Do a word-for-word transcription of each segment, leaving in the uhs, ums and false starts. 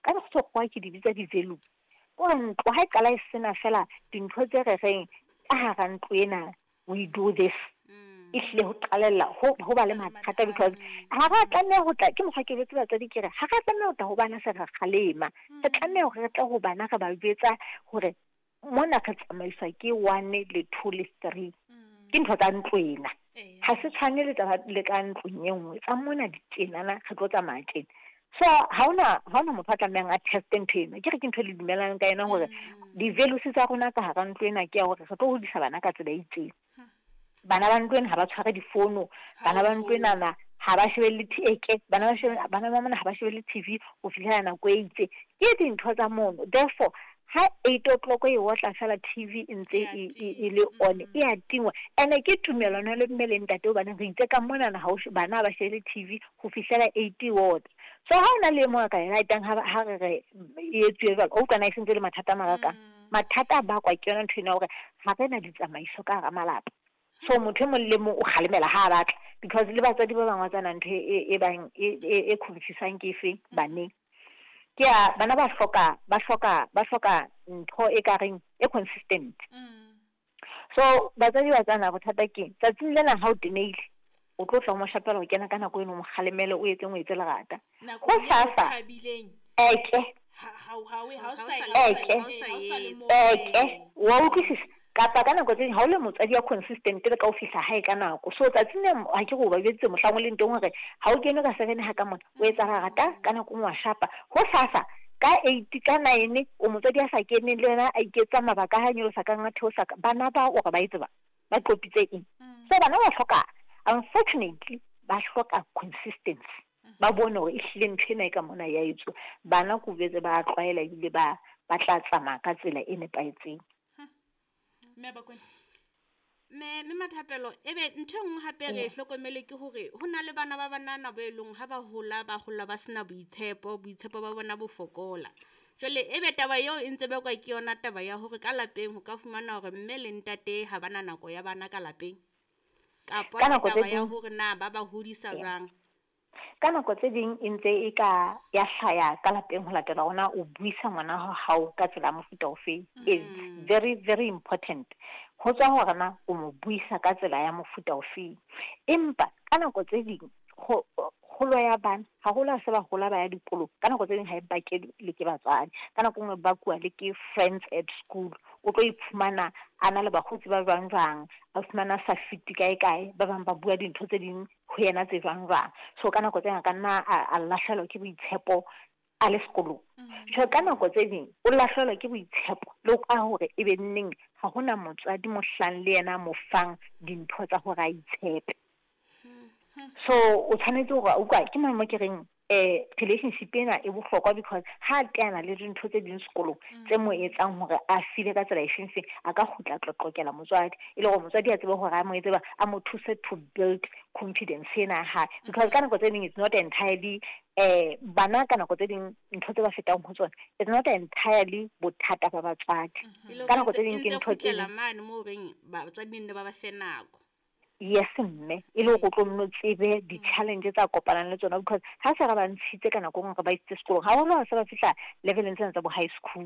Ka sekgowa ke di bitsa di-value. Kore ntlo ha e qala e sena fela dintho tse re reng ka hara ntlo ena, we do this. E hlile ho qalella ho ho ba le mathata, because ha ra tlameha ho tla, ke mokgwa ke jwetse batswadi ke re ha ra tlameha ho tla ho bana se re kgalema. Re tlameha hore re tle ho bana re ba jwetsa hore mona re tsamaiswa ke one le two le three. Ke ntho tsa ntlo ena. Ha se tshwane le tsa le ka ntlong e nngwe. Tsa mona di tjenana, re tlo tsamaya tjena. So ha hona ha hona motho a tlamehang a teste ntho ena. Ke re ke ntho e le dumellanang ka yona hore di-values tsa rona ka hara ntlo ena ke ya hore re tlo hodisa bana ka tsela e itseng. Bana ba ntlo ena ha ba tshware difono, bana ba ntlo enana ha ba shebelle eke, bana ba shebe, bana ba mona ha ba shebelle T V ho fihlela nako e itseng. Ke dintho tsa mono. Therefore, ha eight o'clock e otla fela, T V e ntse e, e, e le on, e a tingwa. Ene ke tumelano le mme le ntate, hobaneng re itse ka monana ha o bana ba shebelle T V ho fihlela eight e otla. So ha hona le e mong a ka e ratang, ha ha re re e etsuwe jwalo, o utlwa na e sentse le mathata a makakang. Mathata a bakwa ke yona ntho ena hore ha re na ditsamaiso ka hara malapa. So motho e mong le mong o kgalemela ha a batla, because le batswadi ba bang wa tsana ntho e e bang e e confusang ke efeng baneng. Ke ya bana ba hloka ba hloka ba hloka ntho e ka reng e consistent. So batswadi ba tsana bothata ke tsatsing lena, ha o tenehile, o tlo tla o mo shapela, o kena ka nako eno, o mo kgalemele, o etseng, o etse lerata. Nako Ho eo sasa thabileng. Eke. Ha ha ha ha o sa Eke. ha o sa le moo. Eke, wa utlwisisa? Kapa ka nako tse ding ha o le motswadi ya consistent le ka o fihla hae ka nako. So tsatsing le ha ke re o ba jweditse mohlang o leng teng hore ha o kene ka seven ha ka mona, o etsa lerata ka nako nngwe, wa shapa. Ho sasa ka eight, ka nine, o motswadi a sa keneng, le yena a iketsa mabaka a nyolosa ka nqa theosa ka bana ba hore ba etse ba ba qopitse eng. So bana ba hloka, unfortunately, ba hloka consistency. Ba bone hore ehlile ntho ena e ka mona ya etsuwa. Bana ko jwetse ba tlwaela ebile ba ba tla tsamaya ka tsela e nepahetseng. Mme Bakwena. Mme mme Mathapelo, ebe ntho e nngwe hape re e hlokomele ke hore ho na le bana ba banana bo e leng ha ba hola, ba hola ba sena boitshepo, boitshepo ba bona bo fokola. Jwale ebe taba eo e ntse bakwa ke yona taba ya hore ka lapeng ho ka fumana hore mme le ntate ha bana nako ya bana ka lapeng. Kapa Ka ke nako tse taba ya ding hore na ba ba hodisa jwang. Ka nako tse ding e ntse e ka ya hlaya ka lapeng ho latela hore na o buisa ngwana wa hao ka tsela ya mofuta ofeng. It's very very important. Ho tswa hore na o mo buisa ka tsela ya mofuta ofeng. Empa ka nako tse ding ho kgolo ya bana, haholo ha se ba hola ba ya dikolong, ka nako tse ding ha e bake le ke batswadi. Ka nako e nngwe bakuwa le ke friends at school. O tlo iphumana a na le bakgotsi ba jwang jwang, a fumana a sa fite kae kae, ba bang ba bua dintho tse ding ho yena tse jwang jwang. So ka nako tse a ka nna a lahlehelwa ke boitshepo a le sekolong. Jwale ka nako tse ding o lahlehelwa ke boitshepo le ka hore ebe neng ha hona motswadi mohlang le yena a mo fang dintho tsa hore a itshepe. So o tshwanetse hore utlwa ke mo ke reng eh relationship ena e bohlokwa, because ha a teana le dintho tse ding sekolong tse mo etsang hore a feel ka tsela e feng feng, a ka kgutla a qoqokela motswadi, e le hore motswadi a tsebe hore a mo etse ba a mo thuse to build confidence ena ya hae, because ka nako tse ding it's not entirely eh bana, ka nako tse ding ntho tse ba fetang ho tsona, it's not entirely bothata ba batswadi. E le Ka hore nako tse e ding ke ntse ntho tse kgutlela ding. Mane moo reng batswadi ne ba ba fe nako. Yes mme, e le hore o tlo nno tsebe di-challenge tsa kopanang le tsona, because ha se re ba ntshitse ka nako e nngwe, re ba isitse sekolong, haholo ha se ba fihla leveleng tsena tsa bo high school.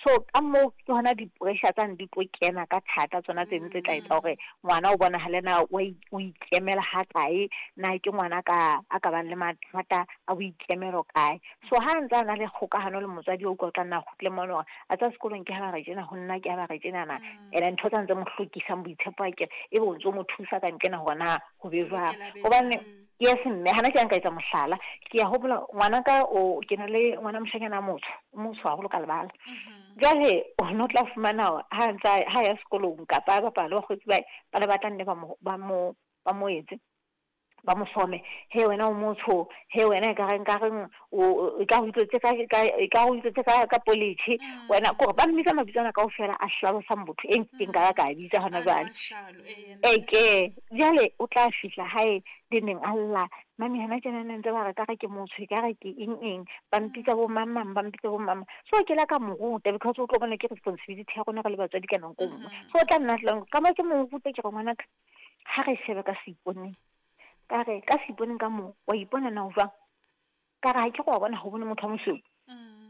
So ka moo ke hona di-pressure tsane di tlo kena ka thata, tsona tse tse tla etsa hore ngwana o bonahale na wa o ikemela ha kae, na ke ngwana ka a ka bang le mathata a boikemelo kae. So ha ntse a na le kgokahano le motswadi, o utlwa o tla nna a kgutle mona hore a tsa sekolong ke ha ba re tjena, ho nna ke ha ba re tjenana, ene ntho tsa ntse mo hlokisang boitshepo akere, ebe o ntso mo thusa ka nqena hore na ho be jwang. Hobane yes mme, hana ke a nka etsa mohlala, ke ya hopola ngwana ka o ke na le ngwana moshanyana a motsho, o motsho haholo ka lebala. Jwale o no tla fumana hore ha ntsa ha ya sekolong kapa a bapala le bakgotsi ba hae, ba ne ba tla nne ba mo ba mo ba mo etse ba mo some, he wena o motsho, he wena e ka reng ka reng o e ka o itlotse ka ka e ka o itlotse ka ka poletjhe wena, kore ba mmitsa mabitso ana kaofela a hlalosang botho e nkekeng ka ba ka a bitsa hona jwale. Eke jwale o tla fihla hae le neng a lla, mami hana tjena ne ntse ba re ka re ke motsho, e ka re ke eng eng, ba mpitsa bo mang mang, ba mpitsa bo mang mang. So ke la ka mo ruta, because o tlo bona ke responsibility ya rona re le batswadi ka nako e nngwe. So o tla nna tlang ka mo ke mo rute, ke re ngwanaka, ha re shebe ka seiponeng, ka re ka seiponeng ka moo wa ipona na o jwang, ka re ha ke re wa bona ha o bone motho wa mosweu.